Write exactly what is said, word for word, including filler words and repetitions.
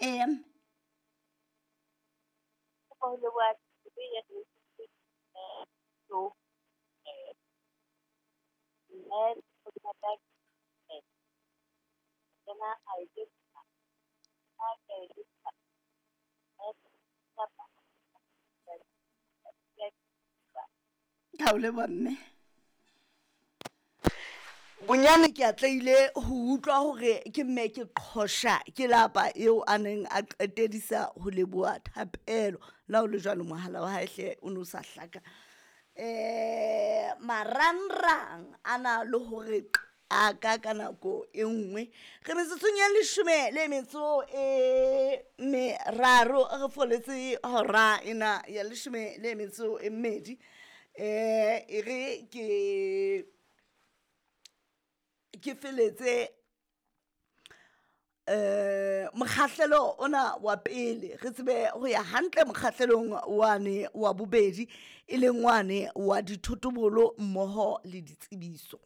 Ee mme. Ho leboha ya so eh mme tsena a e Ka o leboha mme. Bonyane ke atlehile ho utlwa hore ke mme ke qhosha ke lapa eo a neng a qetedisa ho leboha thapelo. Le ha ho le jwalo mohala wa hae hle o no sa hlaka. Eh marangrang a na le hore qaka ka nako e nngwe. Re metsotsong ya leshome le metso e meraro re foletse hora ena ya leshome le metso e mmedi. Eh e re ke ke feletse eh mokgahlelo ona wa pele re tsebe ho ya hantle mokgahlelong wane wa bobedi, e leng wane wa dithotobolo mmoho le ditsebiso.